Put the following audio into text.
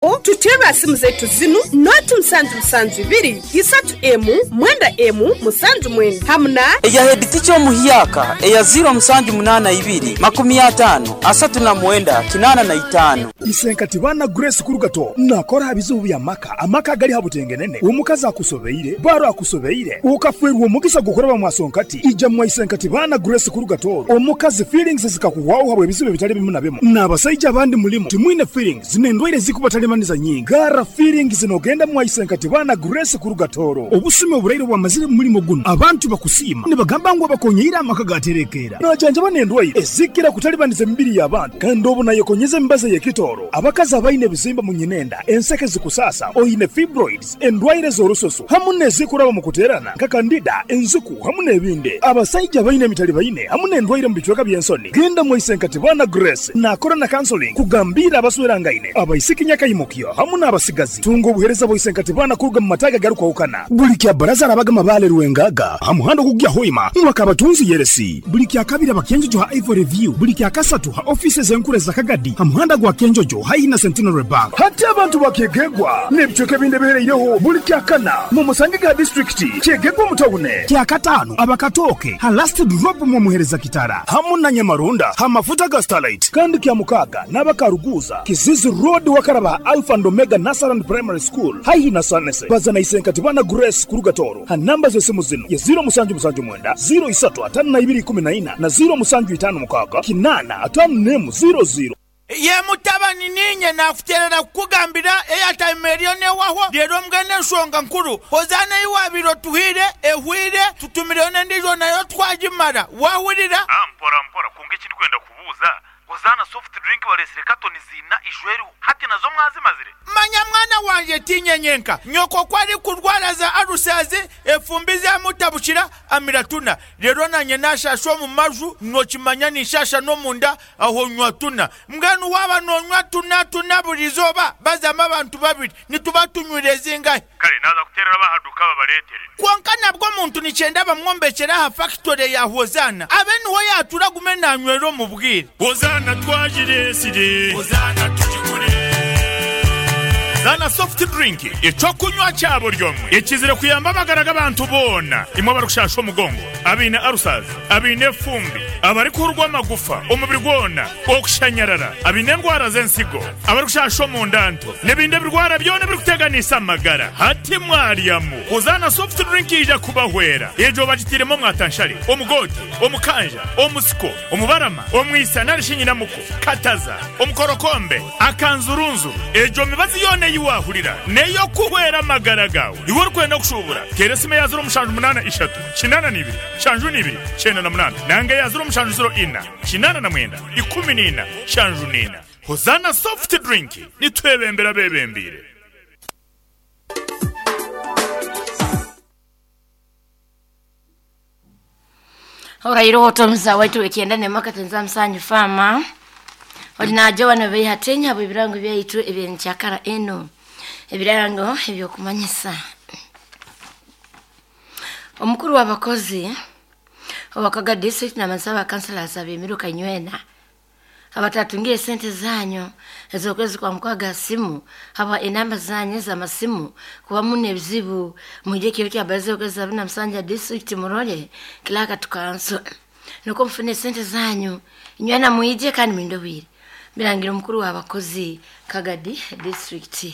Tuterre ha simu zaitu zinu noti musanju musanju ibiri isatu emu mwenda emu musanju mwenda hamu na Eya hediticha omuhyaka eya 0782 50 39 85. Isenkati bana Grace Kurugato nakora ha bizibu bya maka amaka gali ha butengenene omukazi akusobeire baro akusobeire ukafwerwa omugisa gukoreba mwasonkati ija mwa Isenkati bana Grace Kurugato omukazi feelings zikakuwaho habwe ebizibu bitali bimu na bimu n'abasaija abandi mulimu timwine feelings n'endwaire zikubatalimaniza nyingi gara feelings nogenda mwa Isenkati bana Grace Kurugatoro obusumi oburaire bwamazire mu mulimo guno abantu bakusiima nibagamba ngu abakonyeire amaka gaterekera najanjaba n'endwaire ezikira kutalibaniza emibiri y'abantu kandi obu nayekonyeza emibazi y'ekitoro abakazi abaine ebizimba mu nyinenda enseke zikusasa oine fibroids endwaire z'orususu hamu n'ezikuraba mu kuterana nka kandida enziku hamu n'ebindi abasaija baine emitali baine hamu n'endwaire mu bicweka by'ensoni genda mwa Isenkati bana Grace nakora na counseling kugambira abaswerangaine abaisiki nyakaimukyo hamu n'abasigazi tunga obuhereza bwa Isenkati bana kuruga mu mataga garukwahukana buli kya baraza arabaga mabale rwengaga ha muhanda ogugya hoima mwaka abatunzi yeresi buli kya kabiri abakenjojo ha Ivory View buli kya kasatu ha offices enkuru za Kagadi ha muhanda gwa Kenjojo haihi na Centenary Bank hati abantu bakegegwa n'ebicweka ebindi ebihereireho buli kya kana mu musange ga district kyegegwa mutawune kya katano abakatoke ha last drop mu muhereza kitara hamu na Nyamarunda ha mafuta ga Starlight kandi kya mukaga n'abakaruguza Kizizi Road wakaraba Alpha and Omega Nasaran Primary School haihi na Sanese bazana Isenkati bana Grace Kurugatoro ha namba z'esimu zino ya 0779 03 52 14 na 0756 8 54 00. Ye mutabani ninye nakuterera kukugambira eyatime eriyo newaho rero mbwene enshonga nkuru hozana iwabiro tuhire ehwire tutumireyo n'endijo nayo twagimara wahurira. Mpora mpora kunga ekindi kwenda kubuuza Hozana soft drink baresire katoni zina ishweriho hati nazo mwazimazire. Manya mwana wanje tinyenyenka nyoko kwari kurwara za arusazi efumbi zamutabukira amiratuna rero nanye nashasha omu maju nokimanya nishasha n'omunda aho nywa tuna mbwenu waba nonywa tuna tuna buri izooba bazamu abantu babiri nituba tunywire zingahe. Kare naza kuterera bahaduka babaretere. Kwonka nabwo omuntu nikyenda bamwombekera aha factory ya Hozana abe niho yatura gume nanywera omu bwire. Hozana twagiresire Hozana tugigure Zana soft drink ekyokunywa kya buri omwe ekizire kuyamba amagara g'abantu boona imwe abarikushasha omugongo abaine arusazi abaine efumbi abarikuhurwa amagufa omubiri gwona okushanyarara abaine endwara z'ensigo abarikushasha omundanto n'ebindi ebirwara byona ebirikuteganisa amagara hati mwaryamu Hozana soft drink yaija kubahwera egyo bagitiiremu omwatanshare omugoote omukanja omusiko omubarama omwisa nari shi nyinamuko kataza omukorokombe akanzurunzuru egyo mibazi yoona ei waahurira n'ey'okuhwera amagara gaawe. Iwe orikwenda kushuubura, teera esimu eya 073 82 72 98 nanga eya 0704 89 14 74. Hozana Soft Drink, nitwebembera abeebembeire. Orairoho otomuza waitu ekyenda nemaka tenza musanyu fama ori naje wano beihatenya abo ebirango byaitu ebyenkyakara eno ebirango ebyokumanyisa omukuru w'abakozi owakaga district namasaba councillors abemiruka nywena abatatungire sente zanyu ezokwezi kwa mukwaga simu haba enamba zanyu z'amasimu kuba mune ebizibu muje kiro kya baze okwezi abina musanja district murole kilaka tukanso nuko mfune sente zanyu nywena muije kandi mindobire birangira omukuru w'abakozi Kagadi district.